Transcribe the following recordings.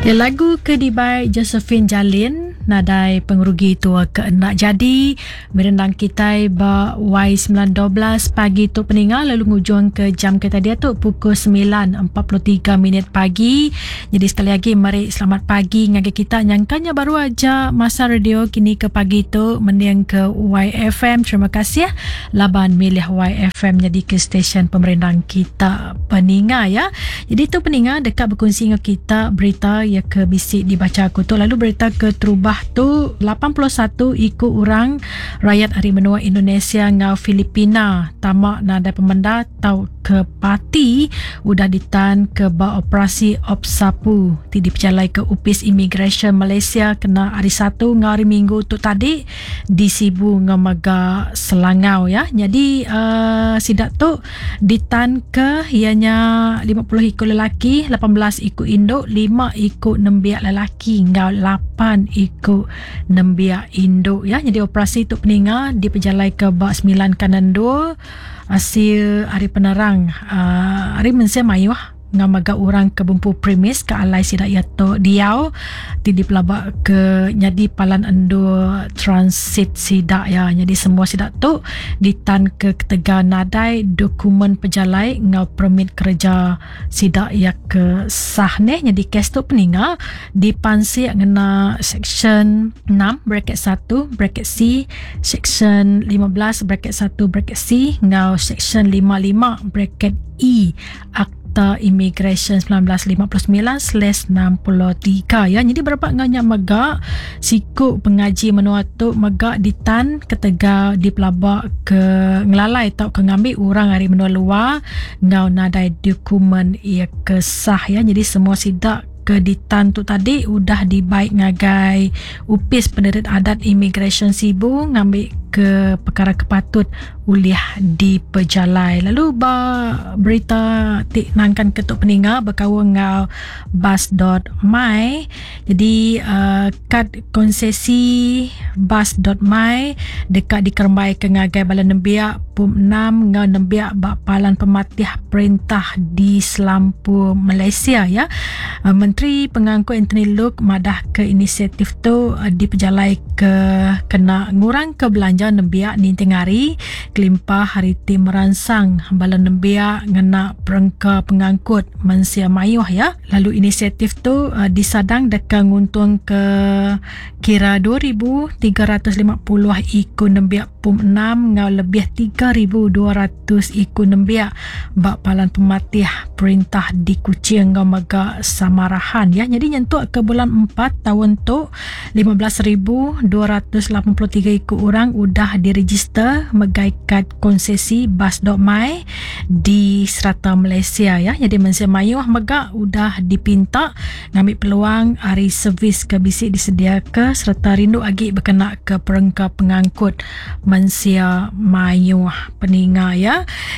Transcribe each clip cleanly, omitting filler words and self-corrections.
Ya, lagu ke dibai Josephine Jalin nadai pengerugi tua ke enda jadi merendang kitai ba Y912 pagi tu peninga lalu ngujung ke jam kita dia tu pukul 9.43 minit pagi. Jadi sekali lagi meri selamat pagi ngagai kita nyangkanya baru aja masa radio kini ke pagi tu mending ke YFM. Terima kasih laban milih YFM nyadi ke stesen pemerindang kita peninga ya. Jadi tu peninga deka bekunsi enggau kita berita ya ke bisi dibaca aku tu lalu berita ke terubah tu 81 iku orang rakyat ari menua Indonesia enggau Filipina tama nadai pemendar tau ke parti udah ditan ke ba operasi Op Sapu ti dipejalai ke Opis Imigresen Malaysia kena hari Satu enggau hari Minggu tu tadi di Sibu enggau mega Selangau ya. Nyadi uh, sida tu ditanka iya nya 50 iku lelaki, 18 iku indu, 5 iku nembiak lelaki enggau 8 iku nembiak indu ya. Nyadi operasi tu peninga dipejalaika ba 9 kanan endur asil ari penerang uh, ari mensia mayuh enggau mega orang ke bempu premis ke alai sida iya tu diau ti dipelaba ke nyadi palan endur transit sida iya. Nyadi semua sida tu ditan ke ketegal nadai dokumen pejalai enggau permit kereja sida iya ke sah neh. Nyadi kes tu peninga dipansik ngena Seksyen 6 bracket 1 bracket C, Seksyen 15 bracket 1 bracket C enggau Seksyen 55 bracket E Akta Imigresen 1959/63 ya. Jadi berapa enggau nya mega siku pengaji menua tu mega ditan ketegal dipelaba ke ngelalai tauka ngambi orang ari menua luar enggau nadai dokumen iya ke sah ya. Jadi semua sida ke ditan tu tadi udah dibai ngagai Opis Penerit Adat Imigresen Sibu ngambi ke perkara ke patut ulih dipejalai. Lalu ba berita ti nangkan ke tu peninga bekaul enggau bas.my. Jadi uh, kad konsesi bas.my deka dikerembai ke ngagai bala nembiak pum 6 enggau nembiak ba palan pematih perintah di selampur Malaysia ya. Uh, Menteri Pengangkut Anthony Loke madah ke inisiatif tu uh, dipejalai ke kena ngurangka belanja nembiak ninting hari kelimpah hari ti meransang bala nembiak ngena perengka pengangkut mensia mayuh ya. Lalu inisiatif tu uh, disadang deka nguntungka kira 2350 iku nembiak pum 6 enggau lebih 3200 iku nembiak ba palan pematih perintah di Kuching enggau mega Samarahan ya. Nyadi nyentuk ke bulan 4 taun tu 15,283 iku orang udah direjister megai kad konsesi Bas Dok Mai di serata Malaysia ya. Nyadi mensia mayuh mega udah dipinta ngambi peluang ari servis ke bisi disediaka sereta rindu agi bekenaka perengka pengangkut mensia mayuh peninga ya.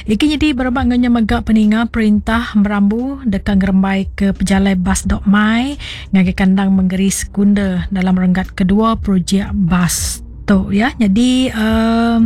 Iki nyadi berebak enggau nya mega peninga perintah merambu deka ngerembaika pejalai Bas Dok Mai ngagai kandang mengeri sekunder dalam renggat kedua projek bas tu ya. Nyadi uh,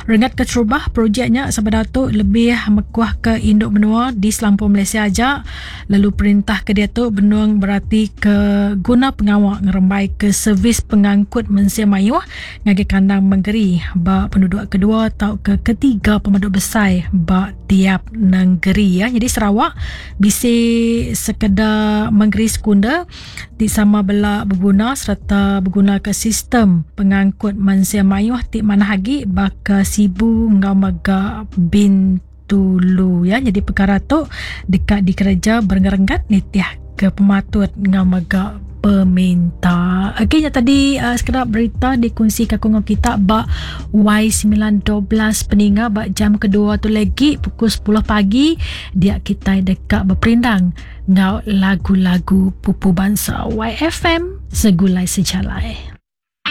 renggat keterubah projek nya sebedau tu lebih mekuh ke induk menua di selampur Malaysia aja lalu perintah ke diatu benung berati ke guna pengawa ngerembai ke servis pengangkut mensia mayuh ngagai kandang mengeri ba penduduk kedua tauka ketiga pemadu besai ba tiap nengeri ya. Jadi Sarawak bisi sekeda mengeri sekunder ti sama bela beguna sereta begunaka sistem pengangkut mensia mayuh ti manah agi baka Sibu enggau mega Bintulu ya. Nyadi pekara tu deka dikereja berenggat-renggat nitih ke pematut enggau mega peminta. Okey nya tadi uh, sekeda berita dikongsi ka enggau kita ba Y912 peninga ba jam kedua tu lagi pukul 10 pagi dia kitai deka beperindang enggau lagu-lagu pupu bansa YFM segulai sejalai.